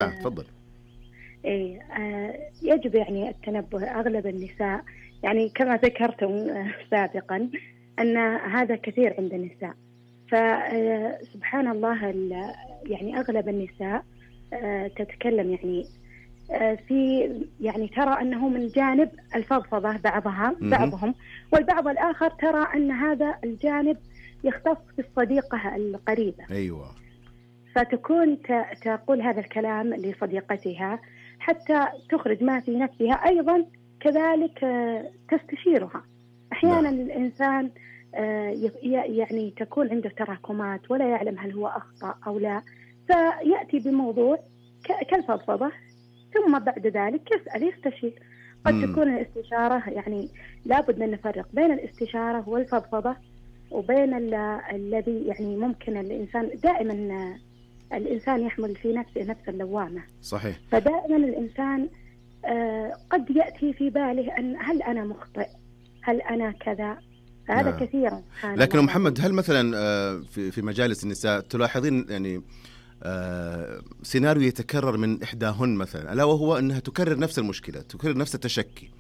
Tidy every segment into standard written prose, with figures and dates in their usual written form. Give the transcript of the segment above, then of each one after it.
تفضل. إيه يجب يعني التنبه. أغلب النساء يعني كما ذكرتم سابقا أن هذا كثير عند النساء، فسبحان الله يعني أغلب النساء تتكلم يعني في يعني ترى أنه من جانب الفضفضة بعضهم، والبعض الآخر ترى أن هذا الجانب يختص بالصديقة القريبة. أيوة. فتكون تقول هذا الكلام لصديقتها حتى تخرج ما في نفسها، أيضا كذلك تستشيرها. أحيانا الإنسان يعني تكون عنده تراكمات ولا يعلم هل هو أخطأ أو لا، فيأتي بموضوع كالفضفضة، ثم بعد ذلك يستشير. قد تكون الاستشارة يعني لابد أن نفرق بين الاستشارة والفضفضة وبين الذي يعني ممكن الإنسان دائما الإنسان يحمل في نفسه نفس اللوامة. صحيح. فدائما الإنسان قد يأتي في باله أن هل أنا مخطئ، هل أنا كذا، هذا كثيرا. لكن محمد، هل مثلا في مجالس النساء تلاحظين يعني سيناريو يتكرر من إحداهن مثلا، ألا وهو أنها تكرر نفس المشكلة، تكرر نفس التشكي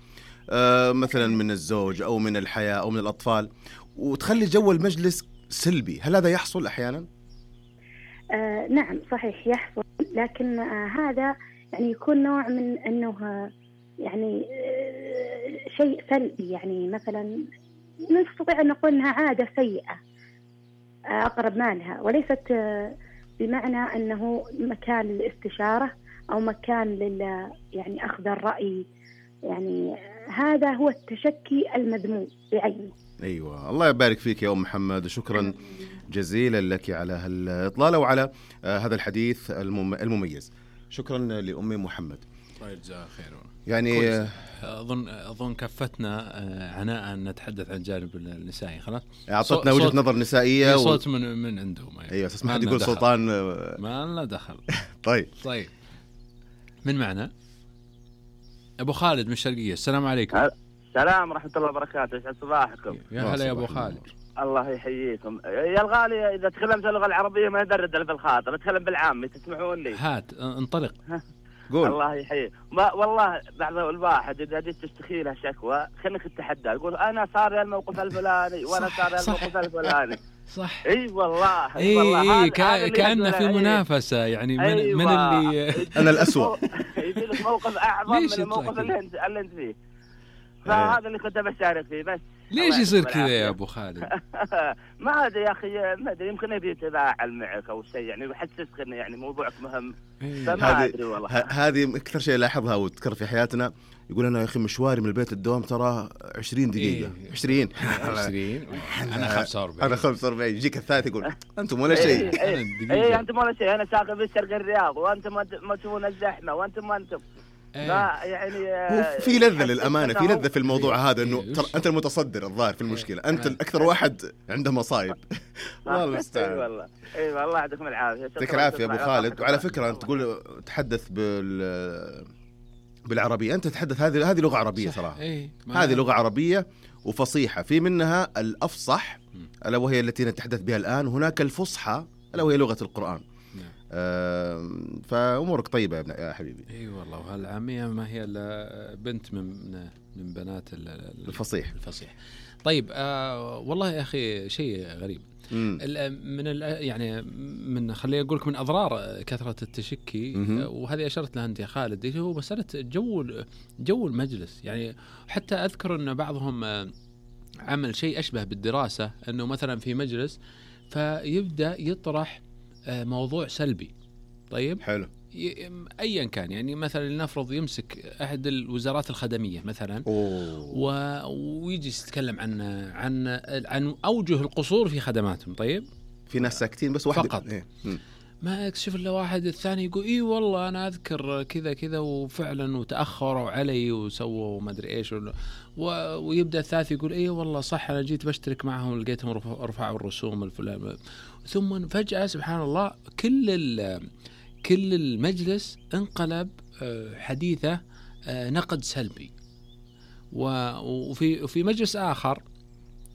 مثلا من الزوج أو من الحياة أو من الأطفال، وتخلي جو المجلس سلبي؟ هل هذا يحصل أحيانا؟ نعم صحيح يحصل، لكن هذا يعني يكون نوع من أنه يعني شيء سلبي. يعني مثلا نستطيع أن نقول أنها عادة سيئة أقرب ما لها، وليست بمعنى أنه مكان للاستشارة أو مكان يعني أخذ الرأي. يعني هذا هو التشكي المذموم بعينه. أيوة، الله يبارك فيك يا أم محمد، شكرا جزيلا لك على هالإطلالة وعلى هذا الحديث المميز. شكرا لأمي محمد. الله يجزاها خير. يعني أظن كفتنا عناء أن نتحدث عن جانب النسائي. خلاص أعطتنا وجهة نظر نسائية صوت من عندهم. يعني. أيوة، تسمح لي يقول سلطان ما لنا دخل. طيب من معنا أبو خالد من الشرقية. السلام عليكم. السلام ورحمة الله وبركاته. يسعد صباحكم. يا هلا يا أبو خالد. الله يحييكم يا الغالي. إذا تكلمت اللغة العربية ما يدرد في الخاطر، أتكلم بالعامي تسمعون لي؟ هات انطلق. قول. الله يحييك. والله بعض الواحد إذا جيت تشتكي له شكوى خليك تتحدى، يقول أنا صار لي الموقف الفلاني وأنا صار لي الموقف الفلاني. صح. اي والله. اي كأنه في منافسة يعني من اللي أنا الأسوأ. يجي لك موقف أعظم من الموقف اللي أنت فيه. فهذا اللي كنت بشارك فيه بس. ليش يصير كذا يا أبو خالد؟ ما أدري يا أخي، ما أدري، يمكن يبي يتفاعل معك أو شيء، يعني يحسسك إنه يعني موضوعك مهم. فما أدري والله. هذه أكثر شيء لاحظها وتذكر في حياتنا. يقول أنا يا أخي مشواري من البيت الدوام ترى 20 دقيقة. 20 أنا 45. أنا 45. يجيك الثالث يقول أنتم ولا شيء. أنتم ولا شيء. أنا ساكن في الشرق الرياض وأنتم ما تشوفون الزحمة وأنتم لا يعني في لذة للأمانة، في لذة في الموضوع هذا، إنه أنت المتصدر الظاهر في المشكلة، أنت الأكثر واحد عنده مصايب. والله المستعان. أي والله يعطيكم العافية. يعطيك العافية أبو خالد. وعلى فكرة أنت تقول تحدث بالعربية، أنت تتحدث هذه لغة عربية صراحة. هذه لغة عربية وفصيحة، في منها الأفصح ألا وهي التي نتحدث بها الآن، هناك الفصحى ألا وهي لغة القرآن. فأمورك طيبة يا حبيبي. اي والله. وهالعامية ما هي بنت من بنات الفصيح. طيب والله يا أخي شيء غريب. يعني من خليني أقولك من أضرار كثرة التشكي، وهذه أشرت لها أنت يا خالد، هو مسألة جو المجلس. يعني حتى أذكر أن بعضهم عمل شيء أشبه بالدراسة، أنه مثلا في مجلس فيبدأ يطرح موضوع سلبي. طيب حلو. أيا كان، يعني مثلا لنفرض يمسك أحد الوزارات الخدمية مثلا ويجي يتكلم عن أوجه القصور في خدماتهم. طيب في ناس ساكتين بس واحد فقط. ما يكشف إلا واحد الثاني يقول إيه والله أنا أذكر كذا كذا وفعلا وتأخروا علي وسووا ما أدري إيش ويبدأ الثالث يقول إيه والله صح أنا جيت بشترك معهم ولقيتهم رفعوا الرسوم الفلان. ثم فجأة سبحان الله كل المجلس انقلب حديثه نقد سلبي. وفي مجلس آخر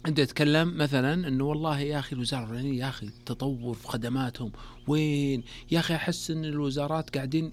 أنت تتكلم مثلا إنه والله يا أخي الوزارة الفلانية يا أخي تطور في خدماتهم وين، يا أخي أحس إن الوزارات قاعدين